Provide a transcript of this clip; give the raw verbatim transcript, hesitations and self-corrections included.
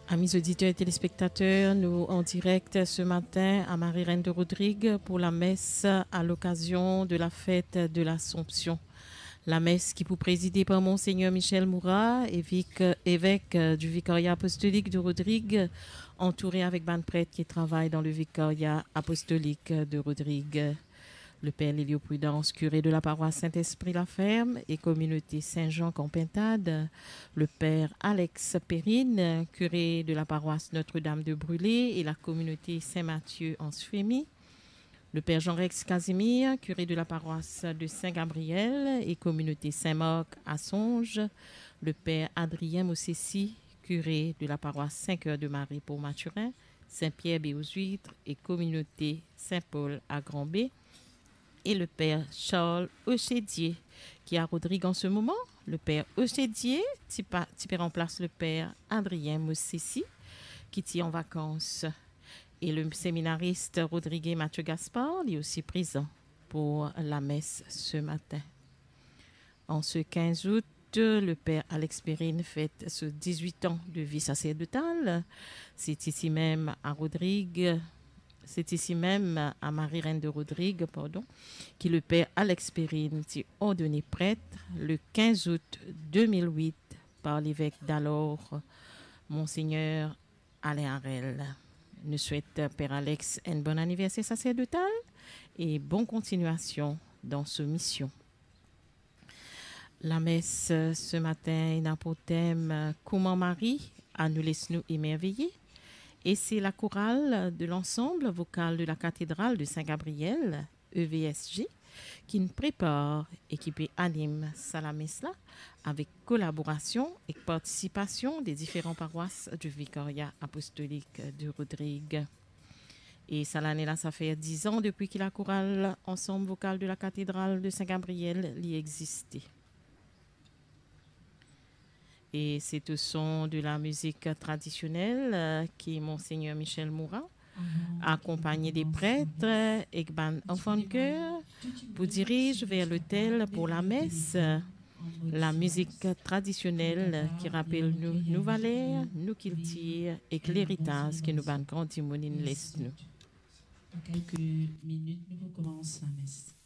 Amis auditeurs et téléspectateurs, nous en direct ce matin à Marie-Reine de Rodrigue pour la messe à l'occasion de la fête de l'Assomption. La messe qui vous présidée par Monseigneur Michel Moura, évêque, évêque, euh, du Vicariat apostolique de Rodrigue, entouré avec bann prêtres qui travaillent dans le Vicariat apostolique de Rodrigue. Le père Lelio Prudence, curé de la paroisse Saint-Esprit-la-Ferme et communauté Saint-Jean Campentade, le père Alex Perrine, curé de la paroisse Notre-Dame de Brûlé et la communauté Saint-Mathieu-Anse-Feumy, le père Jean-Rex Casimir, curé de la paroisse de Saint-Gabriel et communauté Saint-Marc à Songe, le père Adrien Mossessi, curé de la paroisse Saint-Cœur de Marie pour Mathurin, Saint-Pierre-Baie-aux-Huîtres et communauté Saint-Paul à Grand-Baie, et le père Charles Ochedier, qui est à Rodrigue en ce moment. Le père Ochedier, ti pa-, ti pe ranplas le père Adrien Mossessi, ki ti an vakans. Et le séminariste rodrigué Mathieu Gaspard, lui aussi présent pour la messe ce matin. En ce quinze août, le père Alex Perrine fête ses dix-huit ans de vie sacerdotale. C'est ici même à Rodrigue, c'est ici même à Marie-Reine de Rodrigue, pardon, que le père Alex Perrine ti ordonné prêtre le quinze août deux mille huit par l'évêque d'alors, Monseigneur Alain Harel. Nou swet Père Alex enn bon anniverser saserdotal e bon kontinyasyon dan so mision. Lames se matin ena pou tem Kouma Marie a nou les nou emerveye, e se la korale de l'Ensemble Vocal de la Cathédrale de Saint-Gabriel, E V S G, ki'nn prepar e ki pe anim sa lames la, avek kolaborasion ek partisipasion de diferan parwas di Vikarya Apostolik de Rodrig. E sa lane la, sa fer diz an depi ki lakoral Ensemble Vocal de la Cathédrale de Saint-Gabriel li existe. E se o son de la mizik tradisionel, euh, ki Monseigneur Michel Moura, akonpagn de pret ek bann anfan de ker, pou diriz ver lotel pou lames, la mizik tradisionel ki rapel nou, nou valer, nou kiltir ek leritaz ki nou bann gran dimoun inn les nou. Dans quelques minutes, nous recommençons la messe.